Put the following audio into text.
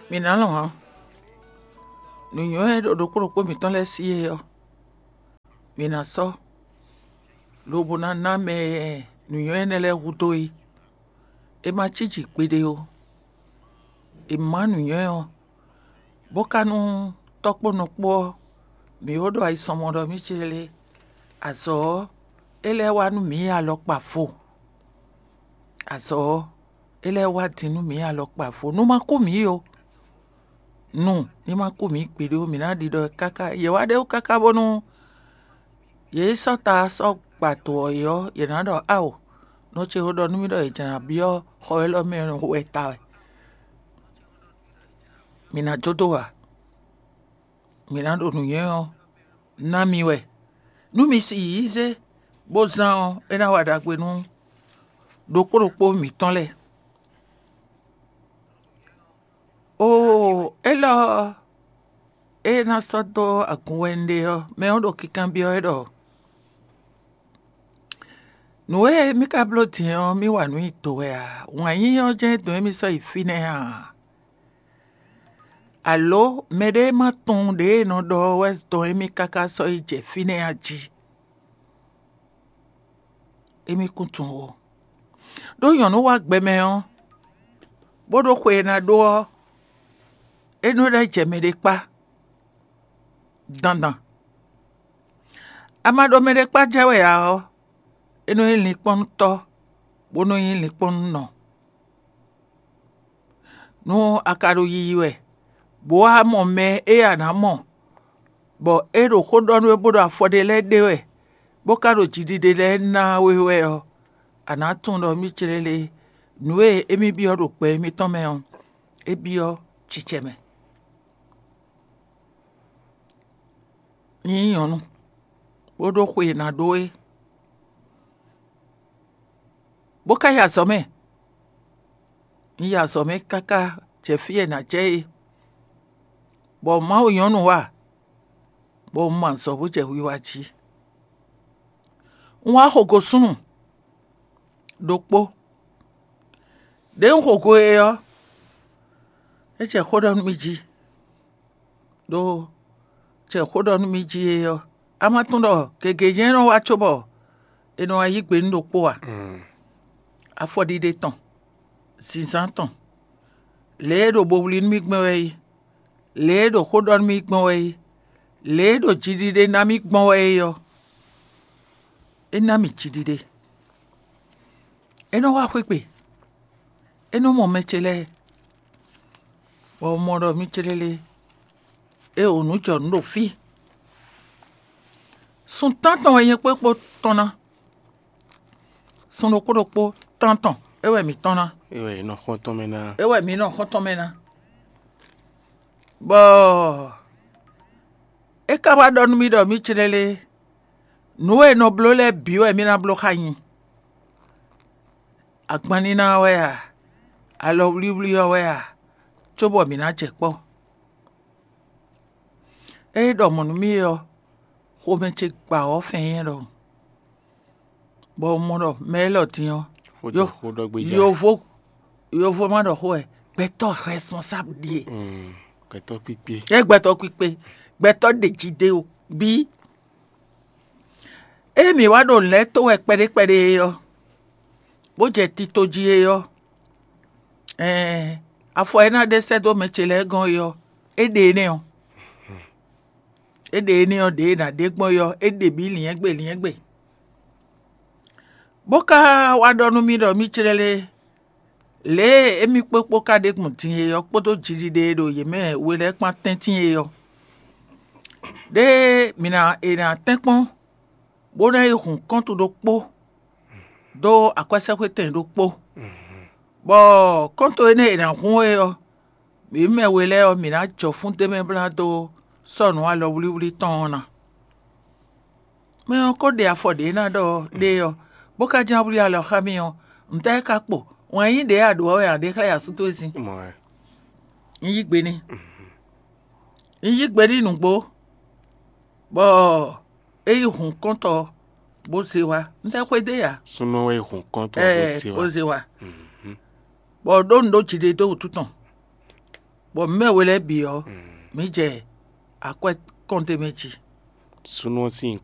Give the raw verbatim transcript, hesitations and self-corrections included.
Mǐ ná lɔn ǎ. Nǔnywɛ́ e ɖo ɖokpó ɖokpó mǐtɔn lɛ́ɛ sí é ɔ́, mǐ ná sɔ́, lobo ná ná mɛ e nǔnywɛ́ énɛ́ lɛ́ɛ hudó é. È ma cí jǐ kpeɖé ó. È má nǔnywɛ́ ɔ́, bó ka nú tɔ́ kpó nɔ kpó ɔ́, mǐ ó ɖo ayisɔnmɔ ɖɔ mì célé. Azɔ̌ ɔ́, é lɛ́ wá nú mǐ alɔkpa vo. Azɔ̌ ɔ́, é lɛ́ wá din nú mǐ alɔkpa vo. Nú ma kú mǐ ó. Nu ní ma kú mǐ gbeɖé ó, mǐ ná ɖiɖɔ ɛ káká. Yě wá ɖe wú káká bónú yě yi sɔ́ ta sɔ́ gba to ɔ́ é ɔ́, yě ná ɖɔ: Ao, nɔ ce ko ɖɔ nú mì ɖɔ è jlǎ byɔ́ xɔ élɔ́ mɛ wɛ ta wɛ. Mǐ ná jó dó ǎ. Mǐ ná ɖo nǔnywɛ́ ɔ́ ná mi wɛ. Nú mi si yǐ zé bó zán ɔ́, é ná wa ɖagbe nú ɖokpó ɖokpó mǐtɔn lɛ́ɛ. Oo, élɔ́ ɔ́, é ná sɔ́ dó agun wɛ un ɖe ɔ́, mɛ ɔ́ ɖo kinkanbyɔ́ wɛ ɖɔ: Nǔ e mì ka bló din ɔ́, mì wa nǔ nyi do wɛ a? Wǎn yíyí ɔ́ jɛ́n dɔn émí sɔ́ yi fínɛ́ a? Alǒ mɛɖé ma tunwun ɖě e nɔ ɖɔ ɔ́ wɛ dɔn émí káká sɔ́ yi jɛ fínɛ́ a jí? Émí kún tunwun ó. Ɖó nyɔ̌nu wá gbɛmɛ ɔ́, bó ɖó xwe e ná ɖó ɔ́, é nɔ lɛ́ jɛ mɛɖé kpá dandan. A ma ɖo mɛɖé kpá jɛ wɛ ǎ ɔ́, é nɔ nyí linkpɔ́nnutɔ́, bó nɔ nyí linkpɔ́nnunɔ. Nú a ka ɖo yiyi wɛ, bó wá mɔ mɛ e a nǎ mɔ, bɔ é ɖo xó ɖɔ nú we bó ɖo afɔ ɖé lɛ́ɛ ɖe wɛ, bó ka ɖo jiɖiɖe lɛ́ɛ ná we wɛ ɔ́, a nǎ tunwun ɖɔ mì célé nǔ e émí byɔ́ ɖo gbɛ mitɔn mɛ ɔ́, é byɔ́ cicɛ mɛ. Nyí nyɔ̌nu, bó ɖó xwe e ná ɖó é, bó ka yi azɔ̌ mɛ. Un yi azɔ̌ mɛ káká jɛ fí e è nǎ jɛ é, bɔ Mawu nyɔ́nu wá, bɔ un mɔ azɔ̌ bó jɛ wiwa jí. Un wá xo go súnnu ɖokpó. Đěe un xo go e ɔ́, é jɛ xó ɖɔ nú mì jí, ɖó jɛ xó ɖɔ nú mì jí é ɔ́, a ma tunwun ɖɔ gěgé jɛ́n é nɔ wá cóbɔ è nɔ wá yí gbe nú ɖokpó a? Afɔɖiɖe tɔn, zǐnzán tɔn, lě e ɖo bo wlí nú mì gbɔn wɛ é, lě e ɖo xó ɖɔ nú mì gbɔn wɛ é, lě e ɖo jiɖiɖe ná mì gbɔn wɛ é ɔ́, é ná mì jiɖiɖe. É nɔ wá xwé gbe, é nɔ mɔ mɛ ce lɛ́ɛ, bɔ un mɔ ɖɔ mì célélé, é o nǔ jɔ nǔ ɖo fí. Sun tántɔn wɛ nyɛ kpó kpó tɔn ná. Sun ɖokpó ɖokpó tántɔn, é wɛ mǐ tɔn ná. É wɛ è nɔ xɔ́ntɔn mɛ ná. É wɛ mǐ nɔ xɔ́ntɔn mɛ ná. Bɔ é ka wá ɖɔ nú mì ɖɔ mì célélé, nǔ e è nɔ bló lɛ́ɛ bǐ wɛ mì ná bló xá nyi. Agbanníná ɔ́ wɛ a? Alɔwlíwlí ɔ́ wɛ a? Cóbɔ mǐ ná jɛ kpɔ́. Ée ɖɔ mɔ̌ nú mì é ɔ́, xomɛ ce gba wɔ̌ fɛn nyɛ ɖɔhun, bɔ un mɔ ɖɔ mɛ élɔ́ din ɔ́, Xó jɛ xó ɖɔ gbéjá. Yovo, yovo ma ɖɔ xó wɛ, gbɛtɔ́ responsable ɖíe. Mm, gbɛtɔ́ kpíkpé. É gbɛtɔ́ kpíkpé, gbɛtɔ́ ɖe jí ɖé o, bí. Ée mǐ wá ɖo lɛ̌ tó wɛ kpɛɖé kpɛɖé é ɔ́, bó jɛ tito jí é ɔ́, ɛɛn, afɔ e ná ɖe sɛ́ dó mɛ ce lɛ́ɛ gɔ́n é ɔ́, é ɖe énɛ́ ɔ́. É ɖe énɛ́ ɔ́, ɖě e è nǎ ɖe gbɔn é ɔ́, é ɖe bǐ lyɛ̌ngbe lyɛ̌ngbe. Bó ka wá ɖɔ nú mì ɖɔ mì clɛ́ lé, lě e émí kpókpó ka ɖe gbɔn din é ɔ́ kpódó jiɖiɖe e ɖo yě mɛ we lɛ́ɛ kpán tɛ́ntin é ɔ́, ɖěe mǐ ná è nǎ tɛ́nkpɔ́n, bó ná yi hun kɔ́ntu ɖokpó dó akwɛ́sɛ́xwétɛn ɖokpó, bɔ kɔ́ntu énɛ́ e è nǎ hun é ɔ́, mǐ mɛ we lɛ́ɛ ɔ́, mǐ ná jɔ fún d'é mɛ blá dó sɔ́ nǔ alɔwlíwlí tɔn ɔ́ ná. Mɛ ɔ́ ko ɖe afɔ ɖě ná ɖɔ ɖe ɔ́, bó ka ján wlí alɔ xá mì ɔ́, ntɛ́ ka kpo? Wǎn yí ɖě a ɖǒ ɔ́ wɛ a ɖě xlɛ́ asú towe sín? Mɔ̌ wɛ. Un yí gbe n'i. Un yí gbe n'i nǔgbó, bɔ é yi hun kɔ́ntɔ bó zé wá. Ntɛ́ xwedó e ǎ? Súnnu wɛ yi hun kɔ́ntɔ bó Ɛɛ, zé wá. Bó zé wá. Mhm. Bɔ ɖó nǔ ɖó jiɖe dó wútu tɔn. Bɔ mɛ we lɛ́ɛ bǐ ɔ́, mǐ jɛ akwɛ́ kɔnte mɛ jí. Súnnu ɔ́ sín